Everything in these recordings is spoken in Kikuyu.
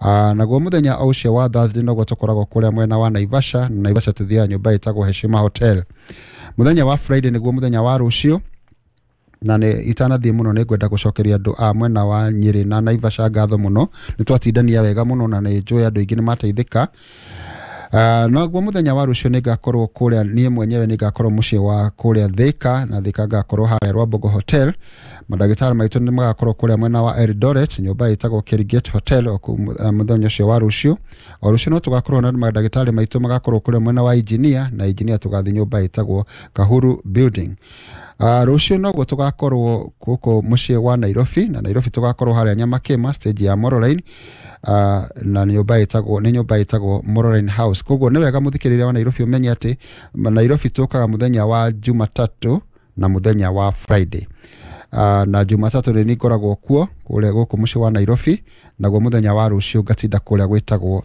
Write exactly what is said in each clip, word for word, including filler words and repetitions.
Uh, naguo muthenya o ũcio wa Thursday noguo tũkoragwo kũrĩa mwena wa Naivasha, na Naivasha tũthiaga nyũmba ĩtagwo Heshima Hotel. Muthenya wa Friday nĩguo muthenya wa rũciũ, na nĩ itanathiĩ mũno nĩ ngwenda gũcokeria andũ a mwena wa Nyĩrĩ na Naivasha ngatho mũno, nĩ twatindania wega mũno na nĩ njũĩ andũ aingĩ nĩ mateithĩka. Uh, noguo muthenya wa rũciũ nĩ ngakorwo kũrĩa niĩ mwenyewe nĩ ngakorwo mũciĩ wa kũrĩa Thika, na Thika ngakorwo harĩa Rwambogo Hotel. Mandagĩtarĩ maitũ nĩ magakorwo kũrĩa mwena wa Eldoret, nyũmba ĩtagwo Kerigate Hotel o kũu uh, mũthenya ũcio wa rũciũ. O rũciũ no tũgakorwo na mandagĩtarĩ maitũ magakorwo kũrĩa mwena wa Engineer, na Engineer tũgathiĩ nyũmba ĩtagwo Kahuru Building. Uh, rũciũ noguo tũgakorwo gũkũ mũciĩ wa Nairobi, na Nairobi tũgakorwo harĩa Nyamakĩma stage ya Moroline, uh, na nyũmba ĩtagwo nĩ nyũmba ĩtagwo Moroline House. Koguo nĩ wega mũthikĩrĩria wa Nairobi ũmenye atĩ Nairobi tũkaga mũthenya wa Jumatatũ na mũthenya wa Friday. Uh, na Jumatatũ nĩ ngoragwo kuo kũrĩa gũkũ mũciĩ wa Nairobi, naguo mũthenya wa rũciũ ngatinda kũrĩa gwĩtagwo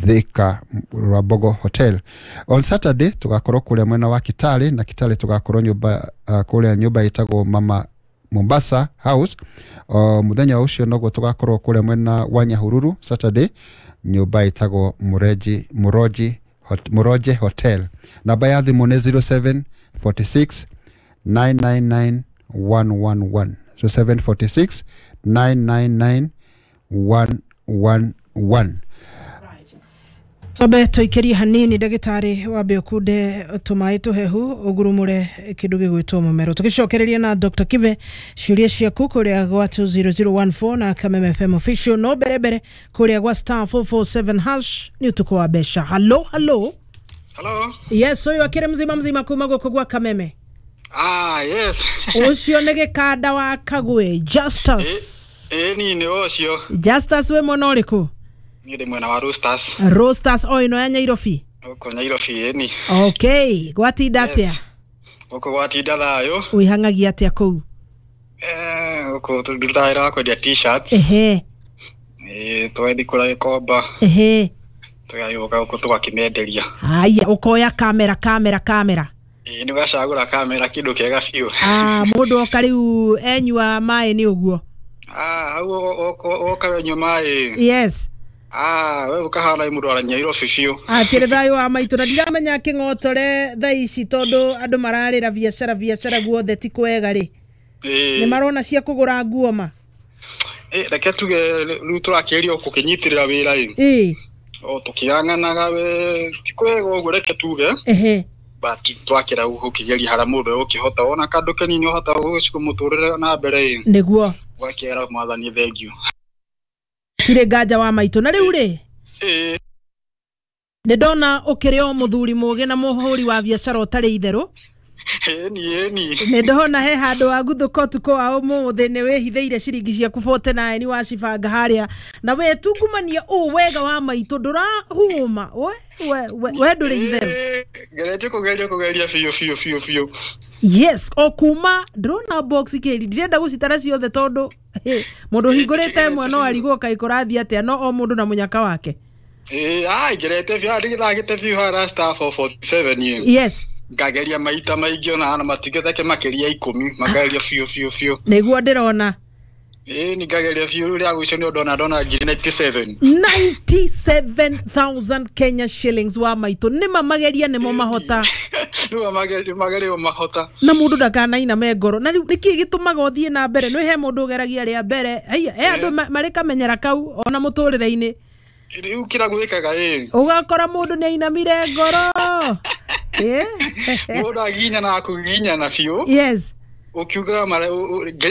Thika Rwambogo Hotel. On Saturday tugakorwo kũrĩa mwena wa Kitale, na Kitale tugakorwo nyũmba uh, kũrĩa nyũmba ĩtagwo Mama Mombasa House. Uh, mũthenya ũcio noguo tugakorwo kũrĩa mwena wa Nyahururu Saturday, nyũmba ĩtagwo Mureji Muroji Hot, Muroje Hotel. Namba ya thimũ nĩ zero seven four six nine nine nine one one one, zero seven four six nine nine nine one one one. Twambe tũikĩrie hanini ndagĩtarĩ, wambe ũkunde tũmaĩ tũhehu ũgurumũre kĩndũ gĩgwĩtwo mũmero, tũgĩcokereria na Doctor Kibe ciũria ciaku kũrĩa gwa two zero zero one four na Kameme F M official. No mbere mbere kũrĩa gwa star four four seven hash nĩ ũtukũ wa mbeca. Hello, hello. Hello. Yes, ũyũ akĩrĩ mzima mzima kuma gũkũ gwa Kameme. Ah, yes. Ũcio nĩ gĩkanda wa Kagwe Justus. Eh, ni nĩ ũcio. Justus wĩ mwena ũrĩkũ? Niĩ ndĩ mwena wa Roasters. Roasters o ĩno ya Nyairobi? Gũkũ Nyairobi ĩni. Okay, gwatinda atĩa? Gũkũ gwatinda thayũ. Wĩhang'agia atĩa kũu? Eh, gũkũ tũrutaga wĩra wa kwendia t-shirts. Ehe. Eh, tũgathiĩ kũrĩa Gĩkomba. Ehe. Tũgagĩũka gũkũ tũgakĩmenderia. Haya, ũkoya kamera kamera kamera. Ĩĩ, nĩ ũgacagũra kamera kĩndũ kĩega biũ. Ah, mũndũ oka rĩu enyua maĩ nĩ ũguo. Ah, hau oka wenyua maĩ. Yes. Ah, we ukahana mũndũ wa Nyairobi biũ. Akĩrĩ thayũ wa maitũ, na ndiramenya kĩng'otore thaa ici tondũ andũ mararĩra biacara biacara guothe ti kwega rĩ. Nĩ marona cia kũgũra nguo ma? Eh, reke tuge rĩu tũrakĩgeria gũkĩnyitĩrĩra wĩra ĩ. Ĩĩ. O tũkĩang'anaga we ti kwega ũguo reke tuge. Ehe. But twakĩra gũkĩgeria harĩa mũndũ egũkĩhota wona kandũ kanini ũhota gũgĩcukũ mũtũrĩre na mbere ĩ. Nĩguo. Ũgakĩra mwathani thengiũ. Tirĩ nganja wa maitũ. Na rĩu rĩ, ĩĩ, nĩ ndona ũkĩrĩ o mũthuri mũgĩ na mũhũri wa biacara ũtarĩ itherũ. Ĩni, ĩni. Nĩ ndona he handũ waguthũka ũtukũ wa ũmũthĩ nĩ wĩhithĩire ciringi ciaku forty nine wacibanga harĩa, na we tungumania ũũ wega wa maitũ ndũrahũma. We, we, we, we ndũrĩ itherũ. Ngeretie kũgeria kũgeria biũ biũ biũ biũ. Yes, o kuma ndĩrona box kĩri ndirenda gũcitara ciothe tondũ mũndũ ũhingũrĩte ĩmwe no arigwo kaĩ kũrathiĩ atĩa, no o mũndũ na mũnyaka wake. Ĩĩ, ai ngerete biũ, ndigĩthagĩte biũ harĩa star four four seven ĩ. Yes. Ngageria maita maingĩ ona na matigĩtheke makĩria ikũmi, makageria biũ biũ biũ. Nĩguo ndĩrona. Ĩĩ, nĩ ngageria biũ rĩu rĩa gũico nĩ ndona ndona ngiri ninety seven. ninety seven thousand Kenya shillings wa maitũ. Nĩ ma mageria nĩmo mahota. Nĩ ma mageria, mageria mahota. Na mũndũ ndakanainame ngoro. Na rĩu nĩkĩ gĩtũmaga ũthiĩ na mbere? Nĩ he mũndũ ũgeragia rĩa mbere. Haiya, he andũ marĩ kamenyera kau ona mũtũrĩre-inĩ. Rĩu kĩrĩa gwĩkaga ĩ. Ũgakora mũndũ nĩ ainamire ngoro. Eh? Mũndũ aginyana akũginyana biũ. Yes. Ũkiugaga mara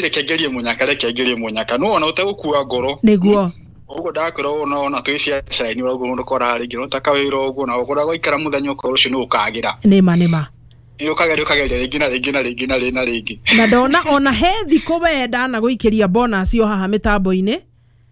reke ngerie mũnyaka, reke ngerie mũnyaka. No ona ũtegũkua ngoro. Nĩguo. Ũguo ndakwĩra ũũ no ona twĩ biacara-inĩ ũguo mũndũ koraga rĩngĩ no ta kawĩra ũguo na ũkoraga waikara mũthenya ũkorwo ũcio nĩ ũkagĩra. Nĩma, nĩma. Ĩ ũkageria ũkageria rĩngĩ na rĩngĩ na rĩngĩ na rĩngĩ na rĩngĩ. Na ndona ona he thikũ we ndanagũikĩria bonus yo haha mĩtambo-inĩ.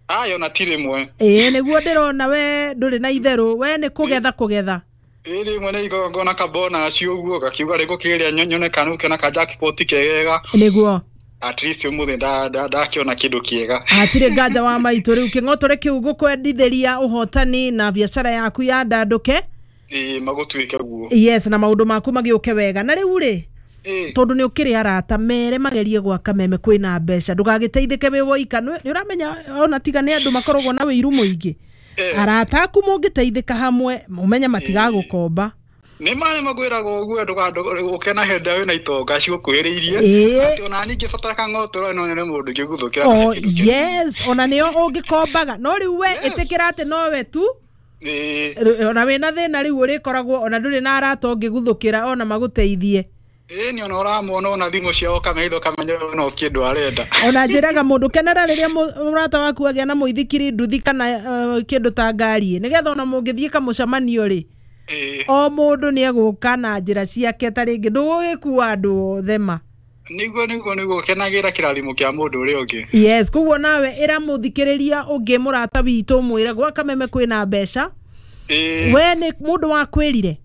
Ayo na ti rĩmwe. Ĩĩ, nĩguo ndĩrona we ndũrĩ na itherũ, we nĩ kũgetha kũgetha. Ĩĩ, rĩmwe nĩ ngona ka bonus ũguo gakiuga rĩngĩ ũkĩgeria nyone kana ũkĩona ka jackpot kegega. Nĩguo. At least ũmũthĩ ndakĩona kĩndũ kĩega. Hatirĩ nganja wa maitũ. Rĩu kĩng'otore kĩu gũkwendithĩria ũhotani na biacara yaku yandandũke. Ĩĩ, magũtuĩke guo. Yes, na maũndũ maku magĩũke wega. Na rĩu rĩ, tondu ni ukiri arata mere magerie gwaka meme kwina mbeca ndugagiteithike wi woika. Ni uramenya ona tiga ni andu makoragwo na wiru muingi. Arata aku mũngĩteithĩka hamwe mũmenye matigagũkomba. Nĩ ma nĩ makwĩraga ũguo ndũgakena hĩndĩ ĩrĩa wĩna itonga cigũkuhĩrĩirie atĩ ona niĩ ingĩbatara kang'otoro no nyone mũndũ ingĩguthũkĩra. Oh yes, ona nĩo ũngĩkombaga no rĩu we ĩtĩkĩra atĩ nowe tu ona wĩna thĩna rĩu ũrĩkoragwo ona ndũrĩ na arata ũngĩguthũkĩra ona magũteithie. Ĩĩ nĩ ona ũramona ona thimũ ciao ũkamenya ũkamenya no kĩndũ arenda. Ona njĩraga mũndũ kenera rĩrĩa mũrata waku agĩa na mũithikiri nduthi kana kĩndũ ta ngari nĩgetha ona mũngĩthiĩ kamũcemanio rĩ o mũndũ nĩ egũka na njĩra ciake ta rĩngĩ ndũgũgĩkua andũ othe ma. Nĩguo nĩguo nĩguo kenagĩra kĩrathimo kĩa mũndũ ũrĩa ũngĩ. Yes, koguo nawe ĩra mũthikĩrĩria ũngĩ mũrata witũ mwĩre gwa Kameme kwĩna mbeca. We nĩ mũndũ wakwĩrire?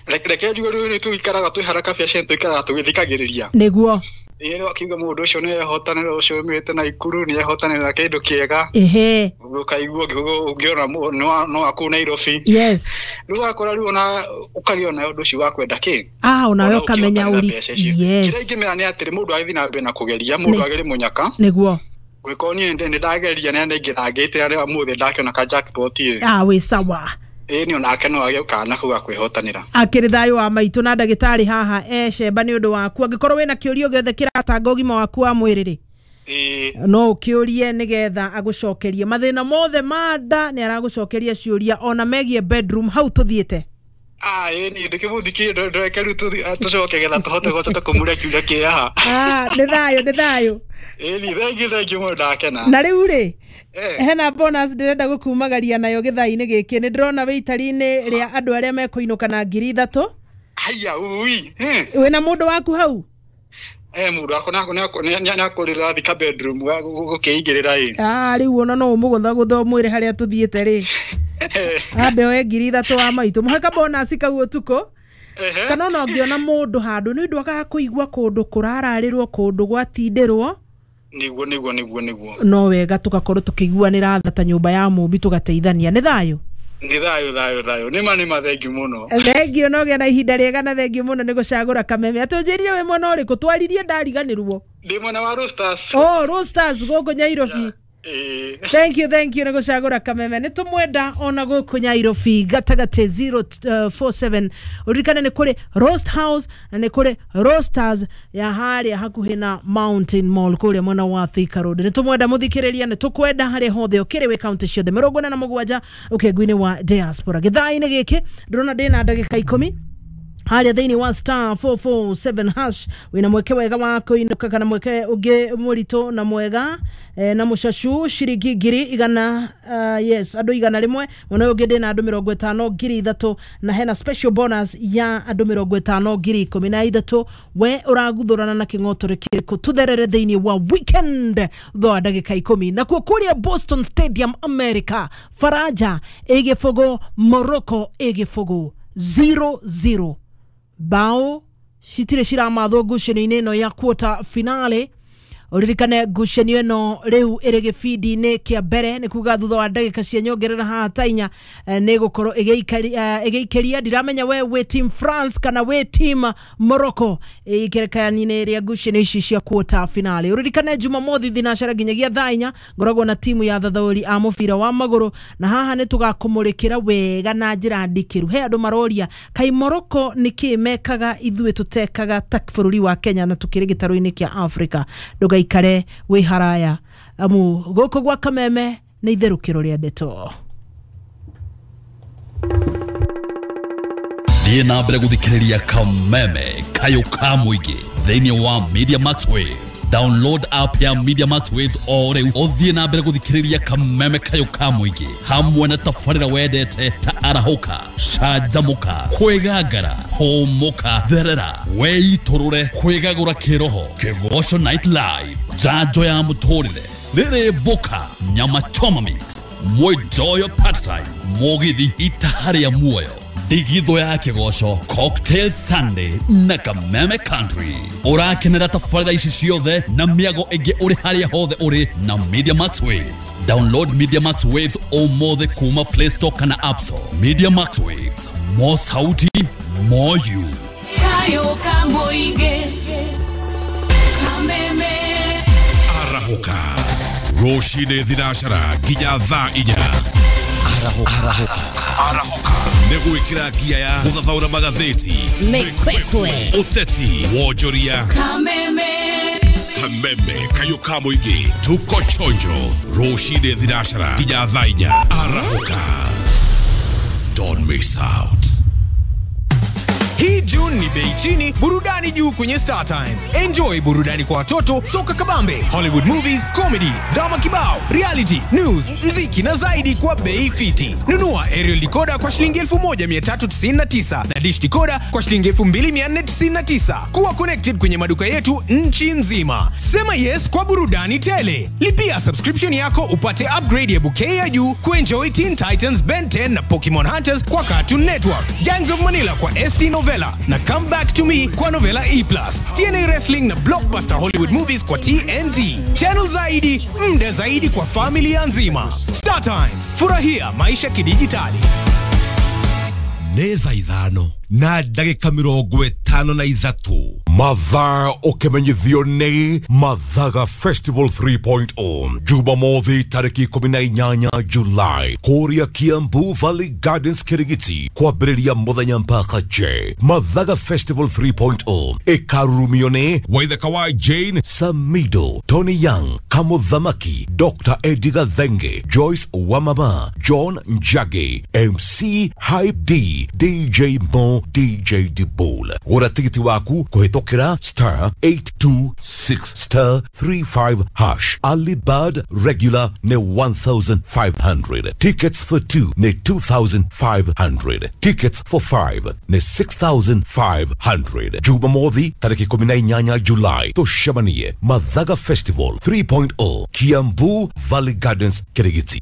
Reke njuge rĩu nĩ tũikaraga twĩ haraka biacara tũikaraga tũgĩthikagĩrĩria. Nĩguo. Ĩĩ no akiuga mũndũ ũcio nĩ ehotanĩra ũcio umĩte Naikuru nĩ ehotanĩra kĩndũ kĩega. Ehe. Ũkaigua ũngĩona no akũu Nairobi. Yes. Rĩu wakora rĩu ona ũkagĩa na ũndũ ũcio wa kwenda kĩ. Ah, onawe ũkamenya ũri. Yes. Kĩrĩa ingĩmera nĩ atĩrĩ mũndũ agĩthiĩ na mbere na kũgeria mũndũ agĩrĩ mũnyaka. Nĩguo. Gwĩko niĩ nĩ ndageria na nĩngĩrangĩte arĩa ũmũthĩ ndakĩona ka jackpot ĩ. Ah, wĩ sawa. Ĩĩ nĩ onake no agĩe kana kau ga kwĩhotanĩra. Akĩrĩ thayũ wa maitũ na ndagĩtarĩ haha e Shemba nĩ ũndũ waku angĩkorwo wĩna kĩũria gĩothe kĩratanga ũgima waku wa mwĩrĩ rĩ no ũkĩũrie nĩgetha agũcokerie mathĩna mothe ma nda nĩ aragũcokeria ciũria ona megiĩ bedroom hau tũthiĩte. Ah, ĩĩ nĩ ndĩkĩmũthikie ndũreke rĩu tũcoke getha tũhote gũtata kũmũria kĩũria kĩ haha. Ah, nĩ thayũ nĩ thayũ. Ĩĩ nĩ thengiũ thengiũ mũno ndakena. Na rĩu rĩ hena bonus ndĩrenda gũkumagaria nayo gĩthaa-inĩ gĩkĩ nĩ ndĩrona wĩ itari-inĩ rĩa andũ arĩa mekũinũka na ngiri ithatũ. Haya ui. Wĩna mũndũ waku hau? Eh mũndũ wakwa nĩ akũrĩra thika bedroom gũkĩigĩrĩra ĩ. Ah, rĩu ona no ũmũgũthagũtha ũmwĩre harĩa tũthiĩte rĩ. Ambe oe ngiri ithatũ wa maitũ mũhe ka bonus kau ũtukũ. Kana ona ũngĩona mũndũ handũ nĩ ũndũ akaga kũigua kũndũ kũrararĩrwo kũndũ gwatindĩrwo. Nĩguo nĩguo nĩguo nĩguo. No wega tũgakorwo tũkĩiguanĩra tha ta nyũmba ya mũmbi tũgateithania. Nĩ thayũ? Nĩ thayũ thayũ thayũ. Nĩ ma nĩ ma thengiũ mũno. Thengiũ no ũgĩe na ihinda rĩega na thengiũ mũno nĩ gũcagũra Kameme. Atũnjĩrire wĩ mwena ũrĩkũ? Twaririe ndariganĩrwo. Ndĩ mwena wa Roasters. Oh, Roasters gũkũ Nyairobi. Thank you, thank you nĩ gũcagũra Kameme. Nĩ tũmwenda ona gũkũ Nyairobi gatagatĩ zero four seven. Ũririkane nĩ kũrĩ Roast House na nĩ kũrĩ Roasters ya harĩa hakuhĩ na Mountain Mall kũrĩa mwena wa Thika Road. Nĩ tũmwenda mũthikĩrĩria, nĩ tũkwenda harĩa hothe ũkĩrĩ wĩ kaunti ciothe mĩrongo ĩna na mũgwanja ũkĩngu-inĩ wa diaspora. Gĩthaa-inĩ gĩkĩ ndĩrona ndĩna ndagĩka ikũmi harĩa thĩinĩ wa star four four seven hash wĩna mweke wega wa kũinũka kana mweke ũngĩ mũritũ na mwega eh, na mũcacu ciringi ngiri igana uh, yes andũ igana rĩmwe mwena ũyũ ũngĩ ndĩna andũ mĩrongo ĩtano ngiri ithatũ na hena special bonus ya andũ mĩrongo ĩtano ngiri ikũmi na ithatũ. We ũraguthũrana na kĩng'otore kĩrĩkũ? Tũtherere thĩinĩ wa weekend thutha wa ndagĩka ikũmi. Nakuo kũrĩa Boston Stadium America, Faraja ĩgĩbũgũ Morocco ĩgĩbũgũ zero zero. Bao citirĩ ciramathwo ngucanio-inĩ ĩno ya quarter finale. Ũririkane ngucanio ĩno rĩu ĩrĩ gĩbindi-inĩ kĩa mbere nĩ kuga thutha wa ndagĩka cia nyongerera haha ta inya nĩ gũkorwo ĩgĩikĩria. Ndiramenya we wĩ team France kana wĩ team Morocco ikerekani-inĩ rĩa ngucanio ici cia quarter finale. Ũririkane Jumamothi thinacara nginyagia thaa inya ngoragwo na timu ya thathaũri a mũbira wa magũrũ na haha nĩ tũgakũmũrĩkĩra wega na njĩra ndikĩru. He andũ maroria kai Morocco nĩkĩ mekaga ithuĩ tũtekaga ta bũrũri wa Kenya na tũkĩrĩ gĩtarũ-inĩ kĩa Africa. Ndũgaikare wĩ haraya amu gũkũ gwa Kameme nĩ itherũkĩro rĩa ndeto. Thiĩ na mbere gũthikĩrĩria Kameme kayũ ka mũingĩ thĩinĩ wa Media Max Waves. Download app ya Media Max Waves o rĩu ũthiĩ na mbere gũthikĩrĩria Kameme kayũ ka mũingĩ hamwe na tabarĩra wendete ta arahũka, canjamũka, kwĩgangara, hũmũka, therera, weitũrũre, kwĩgagũra kĩroho, Kĩgoco Night Live, njanjo ya mũtũrĩre, rĩrĩ mboka, nyama choma mix, mwenjoyo part time, mũgithi itaha rĩa muoyo, ndigithũ ya kĩgoco, Cocktail Sunday na Kameme Country. Ũrakenera tabarĩra ici ciothe na mĩago ĩngĩ ũrĩ harĩa hothe ũrĩ na Media Max Waves. Download Media Max Waves ũmũthĩ kuma Play Store kana App Store. Media Max Waves, more sauti, more you. Kayo kamũingĩ Kameme. Arahũka rũcinĩ thinacara nginya thaa inya. Arahũka nĩ gwĩkĩra ngia ya gũthathaũra magathĩti, Mĩkwekwe, ũteti, wonjoria, Kameme, Kameme kayũ ka mũingĩ. Tuko chonjo rũcinĩ thinacara nginya thaa inya. Arahũka, don't miss out. Hii June ni bei chini, burudani juu kwenye Star Times. Enjoy burudani kwa watoto, soka kabambe, Hollywood movies, comedy, drama kibao, reality, news, mziki na zaidi kwa bei fiti. Nunua aerial decoder kwa shilingi elfu moja mia tatu tisini na tisa na dish decoder kwa shilingi elfu mbili mia nne tisini na tisa. Kuwa connected kwenye maduka yetu nchi nzima. Sema yes kwa burudani tele. Lipia subscription yako upate upgrade ya bouquet ya juu kuenjoy Teen Titans, Ben ten na Pokemon Hunters kwa Cartoon Network, Gangs of Manila kwa S T Novella na Come Back to Me kwa Novella E plus, T N A Wrestling na Blockbuster Hollywood Movies kwa T N T. Channel zaidi, mda zaidi kwa familia nzima. Star Times, furahia maisha kidijitali. Nĩ thaa ithano na ndagĩka mĩrongo ĩtano na ithatũ. Mathaa ũkĩmenyithio nĩ Mathaga Festival three point oh Jumamothi tarĩki ikũmi na inyanya July kũrĩa Kiambu Valley Gardens Kirigiti kwambĩrĩria mũthenya mpaka je. Mathaga Festival three point oh ĩkarurumio nĩ Waithaka wa Jane Samido, Tony Young, Kamuthamaki, Doctor Eddie Gathenge, Joyce Wamama, John Njagi, M C Hype D, D J Mo, D J Dibol. Gũra tigiti waku kũhĩtũkĩra star eight two six star three five hash. Early bird regular nĩ one thousand five hundred. Tickets for two nĩ two thousand five hundred. Tickets for five nĩ six thousand five hundred. Jumamothi tarĩki ikũmi na inyanya July tũcemanie Mathaga Festival three point oh Kiambu Valley Gardens Kirigiti.